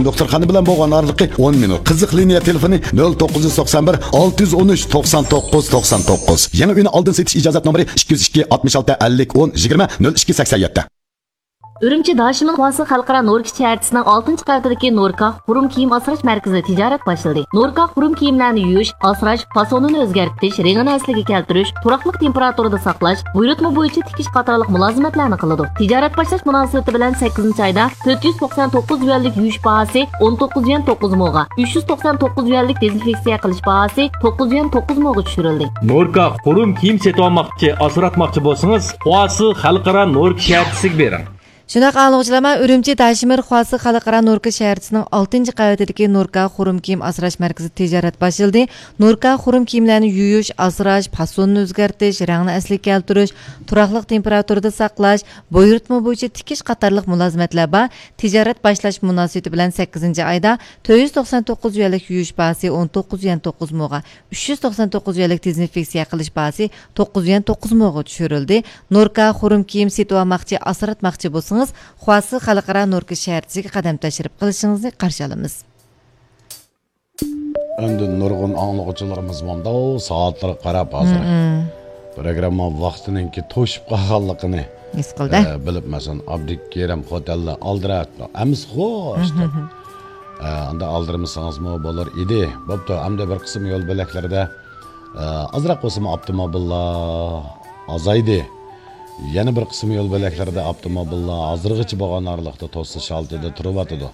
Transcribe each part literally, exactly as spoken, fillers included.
دوختۇرخانا بىلەن بولغان ئارىلىقى ئون مىنۇت. قىزىق لىنىيە تېلېفونى نۆل توققۇز يۈز توقسان بىر، ئالتە يۈز ئون ئۈچ، توقسان توققۇز، توقسان توققۇز. يېڭى ئۆينى ئالدىن سېتىش ئىجازەت نومۇرى ئىككى يۈز ئىككى، ئاتمىش ئالتە، ئەللىك، ئون، يىگىرمە، نۆل ئىككى، سەكسەن يەتتە. ئۈرۈمچى داشىمىن خۇاسى خەلقئارا نوركا شەھەرچىسىنىڭ ئالتىنچى قەۋىتىدىكى نوركا خۇرۇم كىيىم ئاسراش مەركىزىدە تىجارەت باشلىدى. نوركا خۇرۇم كىيىملەرنى يۇيۇش، ئاسراش، پاسونىنى ئۆزگەرتىش، رېڭىنى ئەسلىگە كەلتۈرۈش، تۇراقلىق تېمپېراتۇرىدا ساقلاش، بۇيرۇتما بويىچە تىكىش قاتارلىق مۇلازىمەتلەرنى قىلىدۇ. تىجارەت باشلاش مۇناسىۋىتى بىلەن سەككىزىنچى ئايدا تۆت يۈز توقسان توققۇز يۈەنلىك يۇيۇش باھاسى ئون توققۇز يۈەن توققۇز موغا، ئۈچ يۈز توقسان توققۇز يۈەنلىك دېزىنفېكسىيە قىلىش باھاسى توققۇز يۈەن توققۇز موغا چۈشۈرۈلدى. نوركا خۇرۇم كىيىم سېتىۋالماقچى، ئاسراتماقچى بولسىڭىز، خۇاسى خەلقئارا نوركا شەھەرچىسىگە بېرىڭ. شۇنداق ئاڭلىغۇچىلار، ئۈرۈمچى داشىمىر خۇاسى خەلقئارا نوركا شەھەرچىسىنىڭ ئالتىنچى قەۋىتىدىكى نوركا خۇرۇم كىيىم ئاسراش مەركىزىدە تىجارەت باشلىدى. نوركا خۇرۇم كىيىملەرنى يۇيۇش، ئاسراش، پاسونىنى ئۆزگەرتىش، رەڭنى ئەسلىگە كەلتۈرۈش، تۇراقلىق تېمپېراتۇرىدا ساقلاش، بۇيرۇتما بويىچە تىكىش قاتارلىق مۇلازىمەتلەر بار. تىجارەت باشلاش مۇناسىۋىتى بىلەن سەككىزىنچى ئايدا تۆت يۈز توقسان توققۇز يۈەنلىك يۇيۇش باھاسى ئون توققۇز يۈەن توققۇز موغا، ئۈچ يۈز توقسان توققۇز يۈەنلىك دېزىنفېكسىيە قىلىش باھاسى توققۇز يۈەن توققۇز موغا چۈشۈرۈلدى. نوركا خۇرۇم كىيىم سېتىۋالماقچى، ئاسراتماقچى بولسىڭىز، خۇاسى خەلقئارا نوركا شەھەرچىسىگە قەدەم تەشرىپ قىلىشىڭىزنى قارشى ئالىمىز. ئەمدى نۇرغۇن ئاڭلىغۇچىلىرىمىز مۇنداق سائەتلەرگە قاراپ ھازىر مم. پروگرامما ۋاقتىنىڭكى توشۇپ قالغانلىقىنى ھېس قىلدى. ئە، بىلىپ، مەسىلەن، ئابدۇكېرىم خوتەنلەر ئالدىراپ، ھەممىسى خوش دەپ. ئە، ئاندا ئالدىرمىسىڭىزمۇ بولۇر ئىدى. بوپتۇ، ئەمدى بىر قىسىم يول بۆلەكلىرىدە، ئە، ئازراق بولسىمۇ ئاپتوموبىللار ئازايدى. يەنە بىر قىسىم يول بۆلەكلىرىدە ئاپتوموبىللار ھازىرغىچە بولغان ئارىلىقتا توسۇش ھالىتىدە تۇرۇۋاتىدۇ.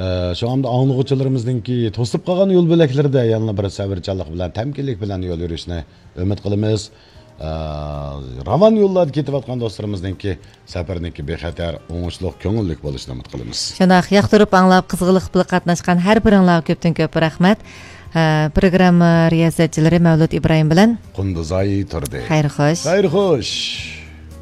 ئە، شۇڭا ئەمدى ئاڭلىغۇچىلىرىمىزنىڭكى توسۇپ قالغان يول بۆلەكلىرىدە يەنىلا بىر سەۋرچانلىق بىلەن، تەمكىنلىك بىلەن يول يۈرۈشنى ئۈمىد قىلىمىز. ئە، راۋان يوللاردا كېتىۋاتقان دوستلىرىمىزنىڭكى سەپىرىنىڭكى بىخەتەر، ئوڭۇشلۇق، كۆڭۈللۈك بولۇشىنى ئۈمىد قىلىمىز. شۇنداق، ياقتۇرۇپ ئاڭلاپ، قىزغىنلىق بىلەن قاتناشقان ھەر بىرىڭلارغا كۆپتىن كۆپ رەھمەت. ئە، پروگرامما رىياسەتچىلىرى مەۋلۇت ئىبراھىم بىلەن قۇندۇزئاي تۇردى. خەير خوش. خەير خوش.